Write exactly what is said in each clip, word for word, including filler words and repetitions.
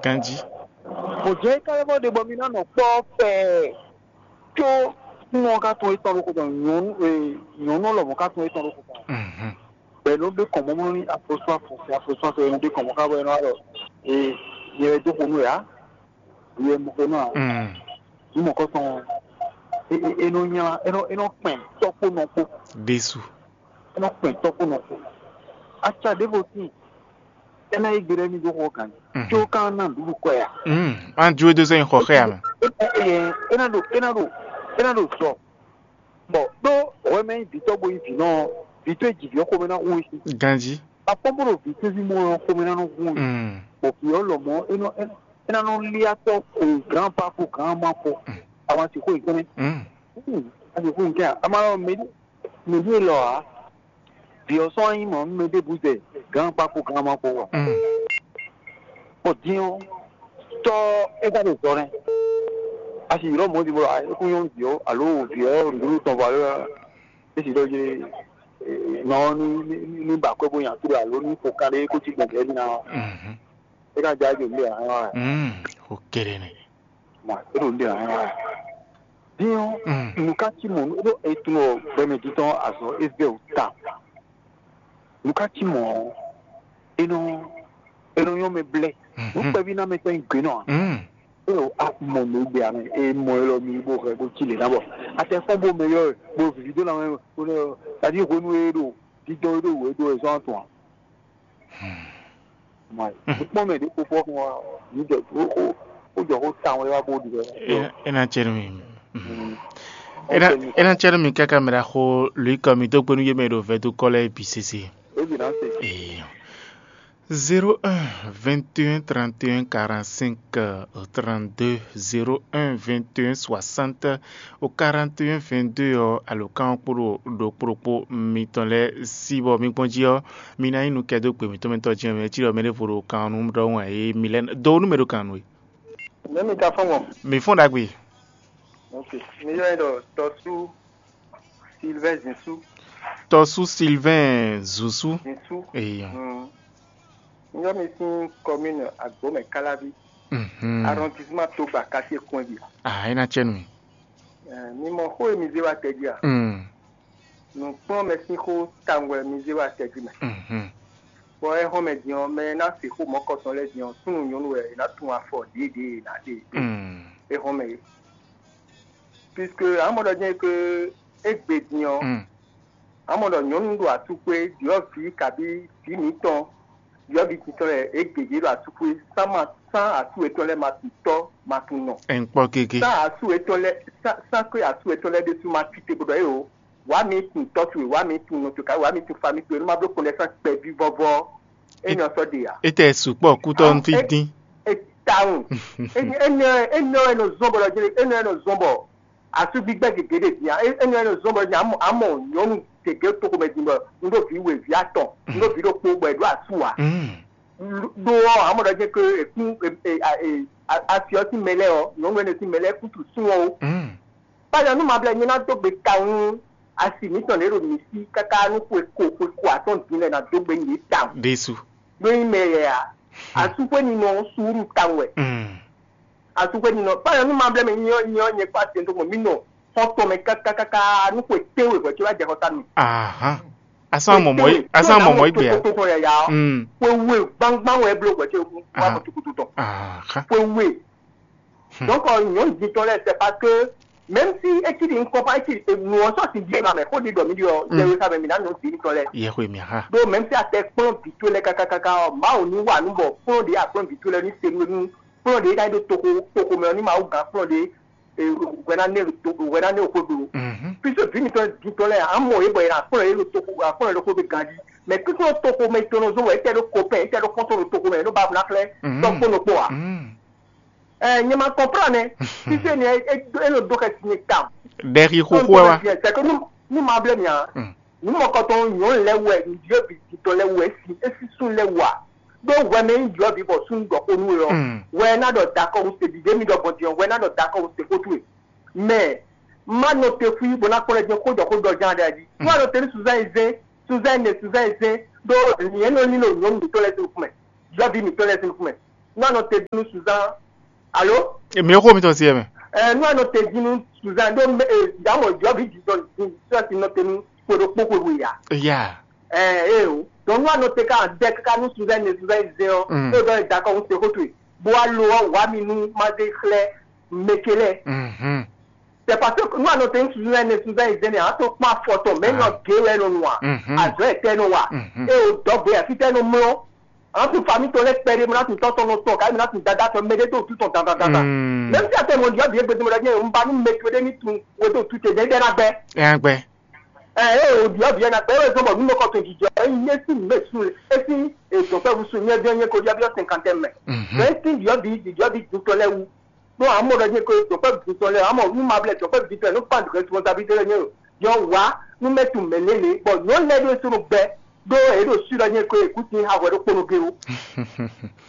Ganjí. Bɔ jɛ ka lɛ́ bɔ ɖe bɔ mi ná nɔ kpɔ́ pɛɛ, có nɔ ka tún etɔn ɖokpó tɔn, nyɔ̌nu e, nyɔ̌nu lɔmɔ̌ ka tún etɔn ɖokpó tɔn. Bɛ̌ nɔ ɖe kɔn mɔmɔ ní afɔsú afɔsɛ afɔsú afɔsɛ nɔ ɖe kɔn mɔ ká bɔ e nɔ wá ɖɔ e nyɛ wɛ dó xo nú ɛ ǎ, yɛ mɔ xo nú ǎ. Ní mɔ kɔ tɔn, e nɔ nya e nɔ e nɔ kpɛn tɔ́ kpó nɔ kpó. Ɖésú. E nɔ kpɛn tɔ́ kpó nɔ kpó. Aca ɖěvo tíin, é ná yí gbe ɖɔ émí dó xɔ gǎn, có ka ná nǔɖuɖu kɔ ɛ ǎ. Má jó e dó sɛ́ nyi xɔ xɛ ǎ mɛ. É ná ɖo é ná ɖo é ná ɖo zɔ, bɔ ɖó hwɛ mɛ nyí vǐtɔ́ bo nyí vǐ nɔ, vǐtɔ́ e ji vǐ ɔ́ xomɛ ná hu é sí. Ganjí. Akpɔ́n bó ɖo vǐ tɛ́nzí mɔ ɔ́ xomɛ ná nɔ hu é. Bɔ vǐ ɔ́ lɔmɔ̌ é nɔ é ná nɔ lí atɔ́, grandpa kpó grandma kpó. Àwọn àsìkò yìí kɛnɛ. Àsìkò yìí kɛnɛ. A ma lɔ mɛ Mǐ ɖíe lɔ ǎ, vǐ ɔ́ sɔ́ nyí mɔ̌ nú mɛ ɖěbǔ zɛ gǎn kpá kpó gǎn ma kpó wɔ. Bɔ din ɔ́, tɔ́ é ka ɖo zɔ nɛ́. A sì ylɔ́ mɔ̌ din bɔ é kún nyɔ́ vǐ ɔ́ alo vǐ ɔ́ nǔɖuɖu tɔn vɔ alo é sì ɖɔ jlé nɔ ɔ́ ní ní ba akwɛ́ bó nya tlú alo ní xo kanɖé kó cí gbɔn gɛ̌ ná ɔ́, é ka jɛ ajɔ nǔɖé ǎ. Xo kéré nɛ. Mɔ é ɖo nǔɖé ǎ. Din ɔ́, nǔ ka cí mɔ̌ nú ɖó e tunwun ɔ gbɛmɛ dídɔn azɔ̌ é vɛ wú ta. Nǔ ka cí mɔ̌ ɔ́, é nɔ é nɔ nyɔ́ mɛ blɛ́. Nǔ kpɛví ná mɛ tɔn nyi gbe nɔ ǎ. É ɖo a mɔ nǔ gbé ame é mɔ é lɔ mi bó hɛ bó cí lě ná bɔ atɛ fɔ́n bó mɛ yɔ bó vivi dó ná mɛ bó nɛ ɔ tàbí hwenu e ɖo dídɔn e ɖo wǔ é ɖó wɛ zɔ́n tɔn ǎ. Kpɔ́n mɛ ɖě kpó fɔ́ fún wa ní jɔ ó jɔ xó tawun wá bó ɖi wɛ. É ná cɛ nú mi. É ná cɛ nú mi káká mɛ ɖaxó Luika mi dó gbénú yé mɛ ɖo vɛdó kɔ lɛ́ɛ bǐ sésé. É bǐ ná se. Zéro un, vingt et un, trente et un, quarante-cinq, trente-deux, zéro un, vingt et un, soixante, au quarante et un, vingt-deux ɔ́, alǒkan ɔ́ kpo ɖo ɖokpó ɖokpó mitɔn lɛ́ɛ sí bɔ mi gbɔn jí ɔ́, mi ná nyí nukɛ́dó gbe mǐtɔn mɛ tɔn jɛ́n mɛ cí ɖɔ mɛ ɖěvo ɖo kan ɔ́ nú ɖɔhun ǎ é mi lɛ́ dó nú mɛ ɖo kan nú é. Nɛ̌ mi ka fɔ́n gbɔn? Mi fɔ́n ɖagbe. Ok. Mi yɔ ɛ ɖɔ tɔsú Sylvain Zinsou. Tɔsú Sylvain Zusu. Zinsou. Eyan. Mm. Mi yɔ mi sín commune Agbomɛ Kalavi. Mhm. Arrondissement Togba quartier Kɔnbi. Ah, é ná cɛ nú mi. Eh, mi mɔ xó e mi zé wá tɛ jí a? Mm. Nǔkplɔ́nmɛ sín xó tawun wɛ mi zé wá tɛ jí mɛ. Mhm. Bɔ é hɔn mɛ din ɔ́, mɛ e ná se xó mɔ̌kɔtɔn lɛ́ɛ din ɔ́, súnnu nyɔ̌nu wɛ è nǎ tunwun afɔ ɖěeɖě e è nǎ ɖe é hɔn mɛ é. Puisque amɔ ɖɔ jɛ́n que é gbe din ɔ́, amɔ ɖɔ nyɔ̌nu ɖo atú xwé, ɖyɔ̌vǐ kabí vǐ mǐtɔn ɖyɔ̌vǐ titɔn lɛ́ɛ é gěgé ɖo atú xwé, sán ma sán asú yětɔn lɛ́ɛ ma tunwun tɔ́ ma tunwun nɔ. È ń kpɔ́ gégé. Sán asú yětɔn lɛ́ɛ sán sán kwé asú yětɔn lɛ́ɛ ɖésú ma cíte bó ɖɔ é o, wǎ mi tunwun tɔ́ towe, wǎ mi tunwun nɔ towe, kabí wǎ mi tunwun famí towe, nú ma bló kɔnɖɛsán kpɛví vɔ́vɔ́, é nɔ sɔ́ ɖe ǎ. Étɛ́ sukpɔ́ kútɔ́ nú fí dín. Etawun. Énɛ́ énɛ́ wɛ nɔ zɔ́n bɔ ɖɔ jɛ́n énɛ́ wɛ nɔ zɔ́n bɔ asú gbígbɛ́ gěgé ɖe din ǎ. Énɛ́ wɛ nɔ zɔ́n bɔ ɖɔ jɛ́n amɔ amɔ nyɔ̌nu gěgé toxo mɛ din bɔ un ɖó vǐ we, vǐ atɔn, un ɖó vǐ ɖokpó bɔ è ɖó asú ǎ. Ɖó ɔ́, amɔ ɖɔ jɛ́n ké èkún asi ɔ́ sín mɛ lɛ́ɛ ɔ́, nyɔ̌nu énɛ́ sín mɛ lɛ́ɛ kútu sún ɔ́ ó. Kpáyɔ nú ma blɛ́ nyɛ ná dó gbe tawun nú asi mǐtɔn lě ɖo mǐ sí káká nú xwe ko xwe ko atɔ́ɔ́n din lɛ́ɛ ná dó gbe nyi yě tawun. Ɖésú. Ɖó nyí mɛ yɛ ǎ. Asúxwé ninɔ ɔ́ suúlu tawun wɛ. Asúxwé ninɔ kpáyɔ nú ma blɛ́ mɛ nyɛ ɔ́ nyɛ ɔ́ nyɛ kpá tɛn dó gbɔn mǐ nɔ xɔ́ntɔn mɛ káká káká nú xwe tɛ́nwe hwɛ̌ có wá jɛ xɔ ta mì. Ahán. Asán mɔmɔ yi asán mɔmɔ yi gbé a. Tó tɔn yaya ɔ́. Xwe we gbangban wɛ bló hwɛ̌ có wá mɔ tukutu tɔn. Ahán. Xwe we. Donc nyɔ̌nu din tɔn lɛ́ɛ c'est parce que même si é cí ɖi un comprend é cí ɖi nǔ ɔ́ sɔ́ sin dín ma mɛ xó ɖi ɖɔ mí ɖi ɔ́ yɛwe xa mɛ mǐ ná nyɔ̌nu din tɔn lɛ́ɛ. Yɛhwe mǐ xa. Ɖó même si a tɛ kplɔ́n vǐ towe lɛ́ɛ káká káká ɔ́, Mawu ní wa nǔ bɔ kplɔ́n ɖě a kplɔ́n vǐ towe lɛ́ɛ ní se nú kplɔ́n ɖě ká yi ɖo toxo toxo mɛ ɔ́ ní Mawu gǎn kplɔ́n ɖě hwɛ ná nɛ ɖo to hwɛ ná nɛ ɖo xó ɖo. Puisque vǐ mǐtɔn din tɔn lɛ́ɛ a mɔ yě bɔ yě ná kplɔ́n yě ɖo toxo a kplɔ́n yě ɖo xó ɖo ganjí. Mais kúkú toxo mɛ tɔn nɔ zɔ́n wɛ é tɛ ɖo kɔpɛn é tɛ ɖo kɔntɔn ɖo toxo mɛ é ɖo ba ná xlɛ́ tɔ́ kpó nɔ kpó ǎ. Ɛ nyɛ ma kɔnplan nɛ. Fífé ni é nɔ dó xɛsi ni tawun. Ɖɛxi xoxo wɛ wa. C'est que nu nu ma blɛ mia. Nu mɔkɔtɔn nyɔnu lɛ wɛ nudiyɔ bi titɔ lɛ wɛ si esi sun lɛ wa. Ɖó hwɛ mɛ nyí jɔ bi bɔ sun dɔ ko nu yɔ. Hwɛ na dɔ dakɔ wuse bi demi dɔ gbɔn diɔ hwɛ na dɔ dakɔ wuse ko tu ye. Mais ma nɔ te fui bo na kpɔlɛ jɛ ko jɔ ko dɔ jan da di. Wa nɔ te ni suzan yi zɛn suzan yi ne suzan yi zɛn. Ɖó nyɛ nɔ ni lo nyɔnu mitɔ lɛ sin kumɛ. Jɔ bi mitɔ lɛ sin kumɛ. Nú a nɔ te dín nú Suzan, alo? Mǐ xo mitɔn se mɛ. Ɛ, nú a nɔ te dín nú Suzan ɖó mɛ, ɛ, dǎmɔ jɔ́ vǐ jǐjɔ dín sɔ́ si nɔ te nú xwe ɖokpó xwe we ǎ. Ya. Ɛ, ɛ o. Donc nú a nɔ te ká dɛ káká nú Suzan ne Suzan zɛn ɔ́, Mm. é ɖɔ é dakɔ un se xó towe. Bó wá lo ɔ́ wá mi nú má zé xlɛ́ mɛ ce lɛ́ɛ. Mhm. C'est parce que nú a nɔ te nú Suzan ne Suzan zɛn ne a to kpɔ́n afɔ tɔn mɛ nɔ Ah. gé wɛ nɔ nu a. Mhm. Azɔ̌ ɛtɛ nɔ wa. Mhm. É o dɔgbe afitɛ nɔ mlɔ. An tún fa mitɔn lɛ́ kpɛɖé, mɔ ná tún tɔ́ tɔn nɔ tɔn, káyí mɔ ná tún dada tɔn mɛ ɖé dó wútu tɔn dandandandan. Mm. Même si a tɛ mɔ ɖiɔ bǐ égbé mɔ ɖɔ nyɛ un ba nú mɛ towe ɖé ní tun we dó wútu te ɖɛɖɛ ná gbɛ. Ɛ gbɛ. Ɛ ɛ o ɖiɔ bǐ ɛ ná gbɛ, é wɛ zɔn bɔ nú mɛ kɔ tɔn jijɔ, é nyí é sín mɛ sun, é sín èdɔn fɛ wusu nyɛ biɔ nyɛ ko ɖiɔ biɔ cinquante mɛ. Mhm. Mɛ é sín ɖiɔ bǐ ɖiɔ bǐ dun tɔn lɛ́ wú. Ɖó amɔ ɖɔ nyɛ ko dɔn fɛ dun tɔn lɛ́, amɔ nú ma blɛ dɔn fɛ dun tɔn lɛ́ nú pan responsabilité lɛ́ nyɛ o. Yɔ wá nú mɛ tun mɛ lélẹ̀, bɔ nyɔ lɛ́ ɖó é sɔ́ nɔ gbɛ. Ɖó yě ɖo swi ɖɔ nyɛ ko yě kú sin ha hwɛ ɖokpónɔ géwu.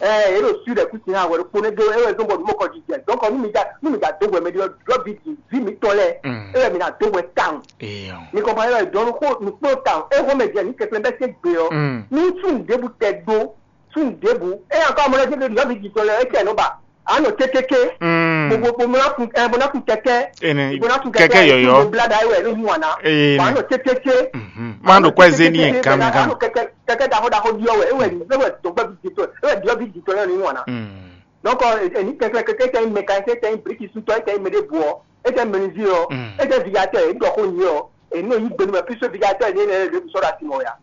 Ɛ yě ɖo swi ɖɔ kú sin ha hwɛ ɖokpónɔ géwu, é wɛ zɔ́n bɔ nǔ mɔ kɔ jijɛ. Donc nú mi ja nú mi ja dó hwɛ mɛ ɖi ɔ́, ɖɔ vi vi mǐtɔn lɛ́ɛ, Mm. é wɛ mi ná dó hwɛ tawun. Eyɔn. Mi kɔn pa é wɛ dɔn nukpó nukpó tawun. É hɔn mɛ jɛ ní kɛkɛlɛ bɛ se gbe ɔ́. Mm. Ní tún ɖěbù tɛ dó, tún ɖěbù. É yàn kɔ amɔ lɛ jẹ́ ɖɔ vi jitɔ lɛ é kɛ nɔ ba. Anɔ kékéké. Mm. Gbogbo gbogbo ná kun ɛ bó ná kun kɛkɛ. Ene Bó ná kun kɛkɛ kɛkɛ yɔyɔ. Bla da é wɛ ní hu wana. Ene. Anɔ kékéké. Mhm. Má ɖo kɔ eze ní yẹn kán mi kán. Anɔ kɛkɛ kɛkɛ daxɔ daxɔ diɔ wɛ é wɛ ní é wɛ dɔgbɛ vi jitɔ é wɛ diɔ vi jitɔ lɛ ní hu wana. Mm. Donc, eni kɛnklɛn kɛkɛ tɛ nyí mécanicien, tɛ nyí brickisutɔ, tɛ nyí mɛɖebu ɔ, e tɛ menuisier ɔ, Mm. e tɛ vigatɔ, e ɖɔ xó nyi ɔ, e nɔ yí gbenu mɛ puisque vigatɔ e ne ne le sɔrɔ asi mɔ ya.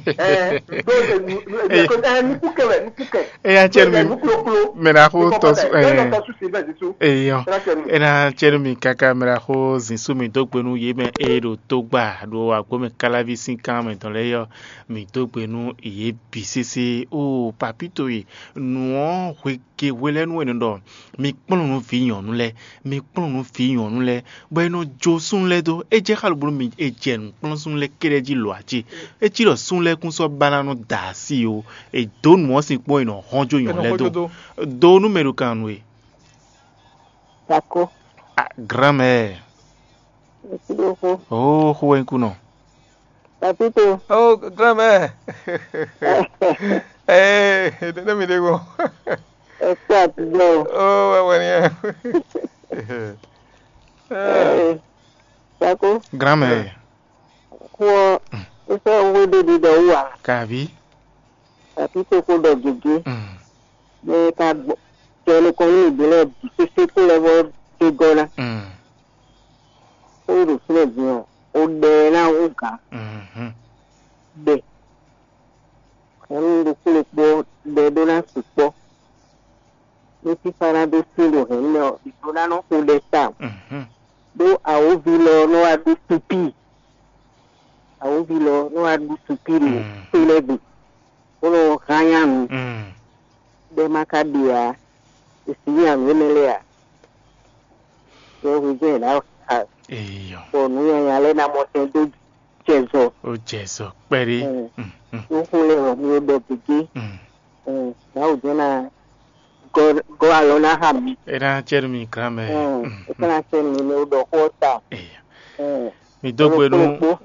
Ɛɛ, do e nu nu e nu ɛ nuku kɛ wɛ nuku kɛ. Eya cɛ mi. Nukuloklo. Mɛ na xo tɔ su ɛ. Tɔ su si bɛ zisu. Eyɔ. Ena cɛ mi. Ena cɛ mi kaka mɛ na xo zisu mi do gbenu ye mɛ e ɖo to gba ɖo agbo mɛ kalavi sin kan mɛ dɔn lɛ yɔ mi do gbenu ye bi sese o papito ye. Nǔ ɔ́ hwegehwe lɛ́ɛ nú è nɔ ɖɔ: "Mi kplɔ́n nǔ vǐ nyɔ̌nu lɛ́ɛ, mi kplɔ́n nǔ vǐ nyɔ̌nu lɛ́ɛ, bɔ è nɔ jó súnnu lɛ́ɛ dó." É jɛ xá lobo nú mi è jɛ nǔ kplɔ́n súnnu lɛ́ɛ kɛ́ɖɛ́ jí lǒ ǎ cé? É cí ɖɔ súnnu lɛ́ɛ kún sɔ́ ba ná nɔ da asi ó. È dǒ nǔ ɔ́ sin kpɔ́n è nɔ hɔn jó nyɔ̌nu lɛ́ɛ dó. Do nú mɛ ɖo kan nú we. Tako. Ah, grand-mère. Merci beaucoup. Oh, xó wɛ nyí kú nɔ. Papito. Oh, grand-mère. Eh, ne mi ɖe gbɔn. Ẹ kú àtijọ́ o. Oh, wɛ wɛ ni. Eh, Tako. Grand-mère. Xó ɔ́, é sɔ́ wé ɖé ɖiɖɔ wú ǎ. Kavi. Papito ko ɖɔ gěgé. Mm. Bɔ é ka gbɔ. Tɛ nukɔn nú mǐ ɖé lɛ́ɛ bǐ sésé kó lɛ́ vɔ dó gɔ́ ná. Mm. Xó e ɖo fínɛ́ din ɔ́, o ɖɛ ɛ ná hú gǎn. Mhm. Ɖɛ. Hɛ̌nnu ɖokpó ɖokpó ɖɛ ɖó ná sukpɔ́. Nú fífá ná ɖó sín ɖo hɛ̌nnu mɛ ɔ́, è ɖó ná nɔ xo ɖɛ tawun. Mhm. Ɖó awǒvi lɔ ɔ́ nɔ wá ɖó supíi. Awǒvi lɔ ɔ́ nɔ wá ɖó supíi ɖo Mm. to lɛ́ɛ gbe, bó nɔ hán nyanu. Mm. Ɖɛ ma ka ɖe ǎ, è sǐ nyanu énɛ́ lɛ́ɛ ǎ. Yɛhwe jɛ́n è nǎ xa Eyɔ. Bɔ nǔ nyanya lɛ́ɛ ná mɔ tɛn dó jɛ zɔ. Ó jɛ zɔ kpɛɖé. Mm. Mm, mm, Nú xó lɛ́ɛ ɔ́, mi ɖɔ gěgé. Mm. Mm, Mawu jɛ́n ná gɔ́ gɔ́ alɔ ná xa mi. É ná cɛ nú mi grand-mère. Mm, Mm, É mm. Ka ná sɛ́ mi ní ɖɔ xó ɔ́ ta. Eyɔ. Mm, Mi dó gbe nú Ɖokpó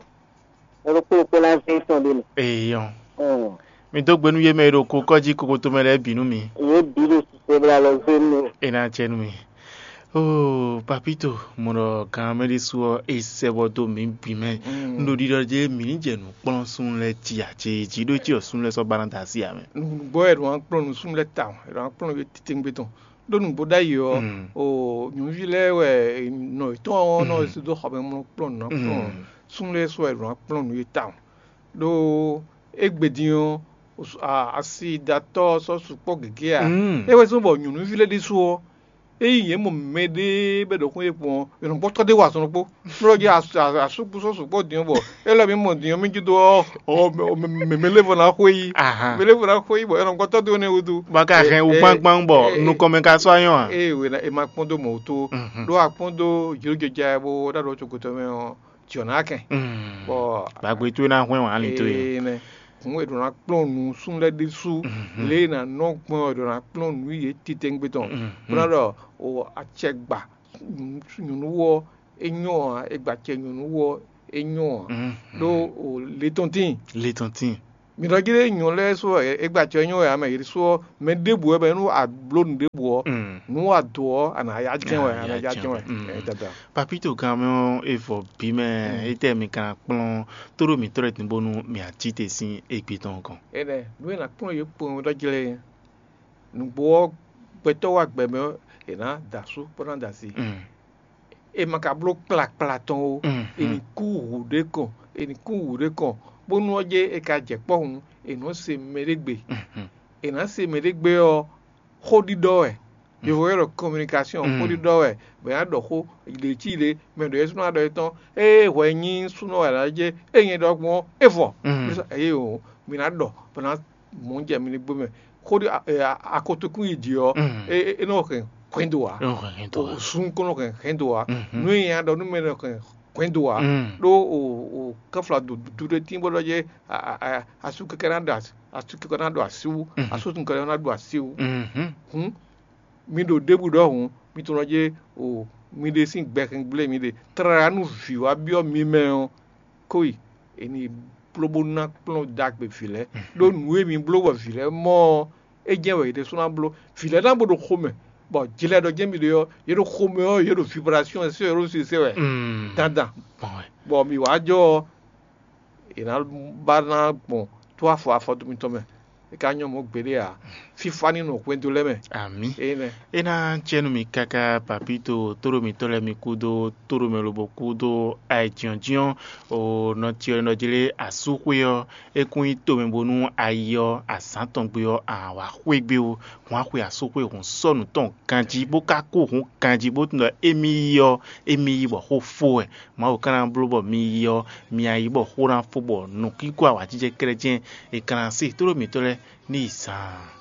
ɖokpó ná zé tɔn ɖé mɛ. Eyɔ. Mm. Mi dó gbe nú yé mɛ e ɖo kokɔ́ jí kokoto mɛ lɛ́ɛ bǐ nú mi. Yě bǐ ɖo sisɛ bla lɔ zé nú mi. É ná cɛ nú mi. Oo, Papito, mo ɖɔ gan mɛ ɖésú ɔ́, é sɛ bɔ dó mǐ bǐ mɛ. Mm. Un ɖo ɖiɖɔ jɛ mǐ ní jɛ nǔ kplɔ́n súnnu lɛ́ɛ jí ǎ, cé jí ɖó cí ɔ́ súnnu lɛ́ɛ sɔ́ ba ná da así ǎ mɛ. Nǔgbó wɛ ɖo wá kplɔ́n nǔ súnnu lɛ́ɛ tawun, è ɖo wá kplɔ́n yě titewungbe tɔn. Ɖó nǔgbó ɖ'ayǐ ɔ́, Mm. o nyɔ̌nuví lɛ́ɛ wɛ nɔ yětɔn ɔ́ nɔ Mm. dó xɔ mɛ mlɔ kplɔ́n nǔ ná kplɔ́n. Mm. Súnnu lɛ́ɛ sɔ́ wɛ ɖo wá kplɔ́n nǔ yě tawun. Ɖó égbé din ɔ́, asidatɔ́ ɔ́ sɔ́ sukpɔ́ gěgé ǎ. Mm. É wɛ zɔ́n bɔ nyɔ̌nuví lɛ́ɛ ɖésú ɔ́, ényí yě mɔ mɛɖé bɔ é ɖo xó yě kpɔ́n ɔ́, è nɔ gbɔ́tɔ́ ɖé wa azɔn ɖokpó. Nú ɔ́ jí asúkú sɔ́ sukpɔ́ din ɔ́, bɔ é lɔ mǐ mɔ din ɔ́, mí jí dó ɔ́, ɔ, mɛ- mɛ- mɛ- mɛ lɛ́ vɔ ná xwé yí. Ahan. Mɛ lɛ́ vɔ ná xwé yí, bɔ è nɔ gbɔ́tɔ́ ɖé ɔ́ nɛ́ wútu. Bɔ a ka hɛn wú gbangban bɔ nukɔn mɛ ka sɔ́ anyɔ́ ǎ. Ée wě ná è ma kpɔ́n dó mɔ̌ wútu ó. Mhm. Ɖó a kpɔ́n dó jlǒjɛja bó ɖo aɖɔ cokotɔ mɛ ɔ́, jǐ ɔ́ ná kɛn. Mm. Bɔ Gbàgbé towe ná hwɛ́n wǎn ali towe. Ee nɛ. Hǔn è ɖǒ ná kplɔ́n nǔ súnnu lɛ́ɛ ɖésú. Mhm. Lě e è nǎ nɔ gbɔn ɔ́, è ɖǒ ná kplɔ́n nǔ yě titewungbe tɔn. Mhm. Bó ná ɖɔ o acɛgba nyɔ̌nu ɔ́ é nyɔ́ ǎ, è gba acɛ nyɔ̌nu ɔ́ é nyɔ́ ǎ. Mhm. Ɖó o le tɔn tíin. Le tɔn tíin. Mi ɖɔ jí ɖé nyɔ̌ lɛ́ɛ sú ɔ́, é gba acɛ nyɔ́ wɛ ǎ mɛ, yě sú ɔ́, mɛ ɖěbǔ wɛ bɔ é nú a bló nǔ ɖěbǔ ɔ́, nǔ wa dǒ ɔ́, a nǎ yá jɛ́n wɛ, a nǎ yá jɛ́n wɛ. Ɛ, dada. Papito gan mɛ ɔ́, é vɔ bǐ mɛ, étɛ́ mi ka ná kplɔ́n tóɖó mǐtɔn lɛ́ɛ din bónú mǐ a cí te sín égbé tɔn gɔ́n? Énɛ́, nǔ e è nǎ kplɔ́n yě kpowun ɖɔ jlɛ́ é. Nǔgbó ɔ́, gbɛtɔ́ wa gbɛ mɛ ɔ́, è nǎ da asú bó ná da asi. È ma ka bló kplakpla tɔn ó. È nǐ kú wǔ ɖé kɔn, è nǐ kú wǔ ɖé kɔn, bónú ɔ́ jɛ è ka jɛ kpɔ́ hǔn, è nɔ́ se mɛɖé gbe. È nǎ se mɛɖé gbe ɔ́, xó ɖiɖɔ wɛ. Yovó ylɔ́ ɖɔ communication, xó ɖiɖɔ wɛ. Bɔ è nǎ ɖɔ xó ɖě cí ɖě, mɛ ɖo yɛ́súnɔ ɖɔ é tɔn, ée hwɛ nyí súnɔ wɛ ná jɛ, é nyɛ ɖɔ gbɔn é vɔ. Eye o, mi ná ɖɔ bɔ ná mɔ jɛ mi ní gbé mɛ. Xó ɖi akotokún yi jǐ ɔ́, é nɔ hɛn hwɛndo ǎ. Sun kɔn nɔ hɛn hwɛndo ǎ. Nú e nya ɖɔ nú mɛ nɔ hɛn hwɛndo ǎ. Ɖó o kɛfla dudu ɖé tín bó ɖɔ jɛ asú kɛkɛ ná ɖo asú kɛkɛ ná ɖo así wú, asú kɛkɛ ná ɖo así wú. Hǔn mi ɖo ɖěbǔ ɖɔhun, mi tunɔ jɛ o mi ɖe sín gbɛ hɛn gblé mi ɖe. Tlala nú vǐ wá byɔ́ mi mɛ ɔ́, kó yi è nǐ bló bó ná kplɔ́n ɖagbe vǐ lɛ́ɛ. Ɖó nǔ e mi bló bɔ vǐ lɛ́ɛ mɔ ɔ́, é jɛ́n wɛ yě ɖésú ná bló. Vǐ lɛ́ɛ ná bó ɖo xomɛ, bɔ jlɛ ɖɔ jɛ́n mi ɖe ɔ́, yě ɖo xomɛ ɔ́, yě ɖo vibration ɛ sɛ́ wɛ, yě ɖo sise wɛ dandan. Bɔ mi wǎ jɔ ɔ́, è nǎ ba ná gbɔn tó afɔ afɔdo mitɔn mɛ. É ka nyɔ́ mɔ̌ gbeɖé ǎ. Fífá ní nɔ hwendo lɛ́ɛ mɛ. Amǐ. Énɛ́. É ná jɛ nú mi káká, papito tóɖó mitɔ́ lɛ́ɛ mi kúdó tóɖó mɛ lobo kúdó ayǐjínjɔ́n. O nɔ cyɔ nɔ jlé asúxwé ɔ́, é kún nyí tomɛ bónú ayi ɔ́ azǎn tɔn gbe ɔ́, a wǎ xwé gbé ó. Hǔn a xwe asúxwé hǔn sɔ́ nǔ tɔn ganjí bó ka kú hǔn ganjí bó tunwun ɖɔ émí yi ɔ́, émí yi bɔ xó fó wɛ. Mawu ka ná bló bɔ mi yi ɔ́, mi a yi bɔ xó ná fó bɔ nǔkínkɔ́n awǎjijɛ kɛ́ɖɛ́ jɛ́n è ka ná se tóɖó mǐtɔn lɛ́ɛ ní yi zaan.